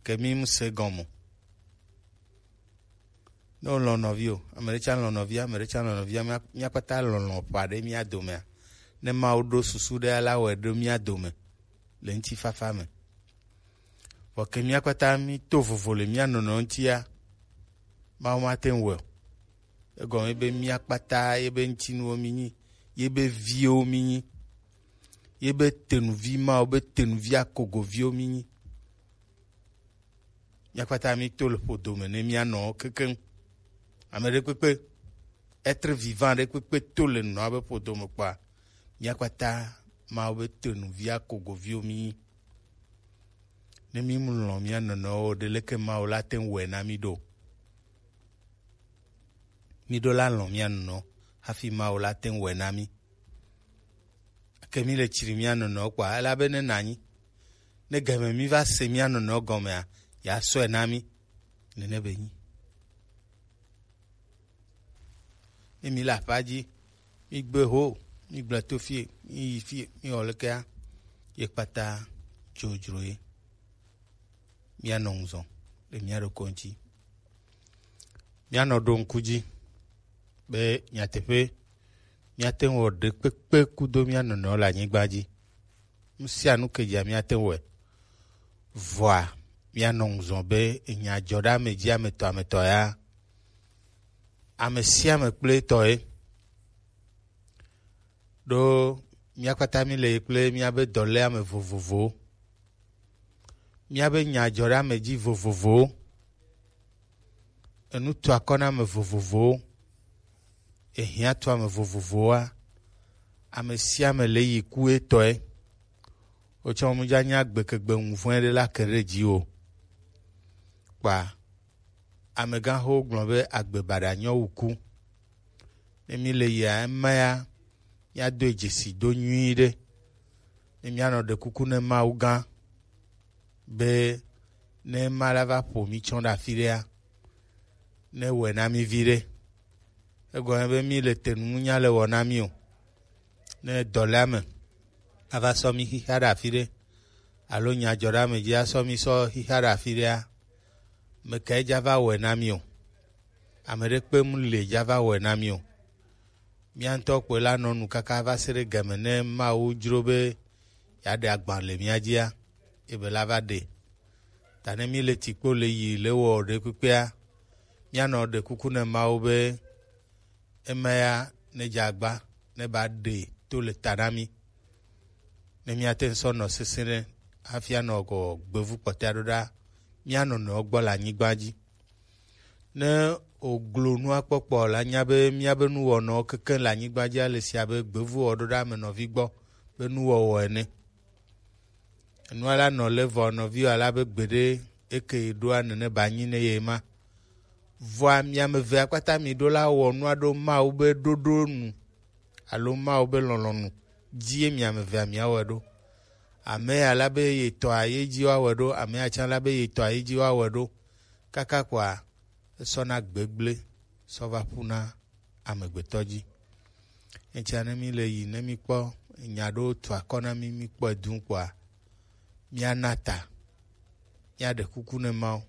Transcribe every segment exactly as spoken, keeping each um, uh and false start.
ke mi mu se gɔme. Ne wolɔ̃ nɔvi o, ame ɖe tsã lɔ̃ nɔvia, ame ɖe tsã lɔ̃ nɔvia, mía- míakpata lɔlɔ̃ ƒo aɖe mía domea, ne Mawu ɖo susu ɖe la wɔe ɖo mía dome le ŋutifafa me. Vɔ ke míakpata míto vovo le mía nɔnɔ ŋutia, Mawu mate ŋu wɔe o. Egɔme be míakpata yebe ŋutinuwo mínyi, yebe viwo mínyi, yebe tenuvi Mawu be tenuvi akogoviwo mínyi. Míakpata míto le ƒodo me ne mía nɔwo kekeŋ. Ame ɖekpekpe, être vivant ɖekpekpe to le nɔa be ƒodo me kpɔa, míakpata Mawu be tenuvi akogoviwo mínyi. Ne mímu lɔ̃ mía nɔnɔewo o, ɖe leke Mawu la te ŋu wɔe na mí ɖo? Mí ɖo la lɔ̃ mía nɔnɔewo hafi Mawu la te ŋu wɔe na mí. Ke mí le tsri mía nɔnɔewo kpɔa, elabe ne nanyi, ne game mí va se mía nɔnɔewo gɔmea, ya sɔe na mí. Nene be nyi. Ne mí le aƒea dzi, mí gbe ho, mí gblẽ to fie, mí yi fie, mí wɔ lekea, ye kpata dzodzro ye. Míanɔ ŋuzɔ le mía ɖokɔ ŋuti. Míanɔ ɖo ŋku dzi be nyateƒe míate ŋu wɔ ɖekpekpe kudo mía nɔnɔewo le anyigba dzi. Nu sia nu ke dzia míate ŋu wɔe. Vɔa, míanɔ ŋuzɔ be enya dzɔ ɖe ame dzi ame tɔ ame tɔ ya. Ame sia ame kple etɔ ye. Ɖo mía kpata mí le yi kple míabe dɔléame vovovowo. Míabe nya dzɔ ɖe ame dzi vovovowo. Enu to akɔ na ame vovovowo. Ehiã to ame vovovowoa, ame sia ame le yi ku etɔe. Wotsɔ mu dza nya gbekegbe ŋuvɔe ɖe la ke ɖe dzi o. Kpa amegãxowo gblɔ be agbe baɖa nyɔ wu ku. Ne mí le yia ema ya, míado dzesi do nyuiɖe. Ne míanɔ ɖe kuku ne Mawu gã be ne ema la va ƒo mí tsɔ ɖe afi ɖea, ne wɔe na mí viɖe. Egɔme be mí le te nu nya le wɔ na mí o. Ne dɔléame ava sɔ mí xixa ɖe afi ɖe, alo nya dzɔ ɖe ame dzi asɔ mí sɔ xixa ɖe afi ɖea, mekae dza va wɔe na mí o? Ame ɖekpe mu le dza va wɔe na mí o. Mía ŋutɔ kpɔe la nɔ nu kaka va se ɖe game ne Mawu dzro be yeaɖe agba le mía dzia, ebe la va ɖe. Ta ne mí le tikpo le yi le wɔ ɖe kpekpea, míanɔ ɖe kuku ne Mawu be ema ya ne dze agba ne ba ɖe to le ta na mí. Ne míate ŋu sɔ nɔ sesẽ ɖe hafi anɔ gɔ gbevu kpɔtɔa ɖo ɖa, mía nɔnɔewo gbɔ le anyigba dzi. Ne òglo nua kpɔkpɔ la nya be míabe nuwɔnɔwo kekeŋ le anyigba dzi ale si abe gbevu wɔ ɖo ɖa ame nɔvi gbɔ be nuwɔwɔ ene. Enua la nɔ le vɔ nɔviwo ale abe gbeɖe eke ɖoa nene ba nyi ne ye ma. Vɔa mi ame evea kpata mi ɖo la wɔ nua ɖo Mawu be ɖoɖo nu alo Mawu be lɔlɔ̃nu dzie mi ame evea miawɔe ɖo. Ame ya la be ye tɔa ye dzi woawɔe ɖo, ame ya tsã la be ye tɔa ye dzi woawɔe ɖo. Kaka kɔa esɔna gbegblẽ sɔ va ƒuna amegbetɔ dzi. Etia ne mi le yi ne mi kpɔ nya ɖewo tu akɔ na mi mi kpɔ edu kpɔa, miana ta, miaɖe kuku ne Mawu.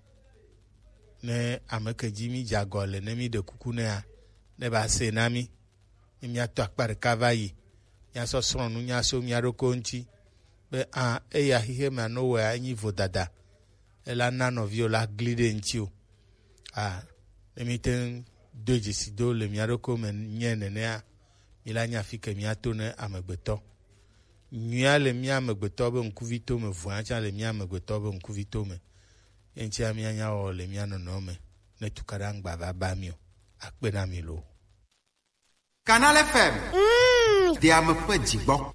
Ne ame ke dzi mi dze agɔ le ne mi ɖe kuku nea, ne ba se na mi. Ne miato akpa ɖeka va yi, miasɔ srɔ̃ nu nya so mia ɖokɔ ŋuti be a eya xixe mea no wɔa enyi vodada, ela na nɔviwo la gli ɖe ŋuti o. A ne mi te ŋu do dzesi do le mia ɖokɔ me nye nenea, mi la nya fi ke miato ne amegbetɔ. Nyuia le mia amegbetɔ be ŋkuvito me, vɔa tsã le mia amegbetɔ be ŋkuvito me. Ye ŋutia mia nya wɔ le mia nɔnɔ me ne tukaɖa ŋgba va ba mi o. Akpe na mi lo. Canal F M. Mm. Deame ƒe dzigbɔ.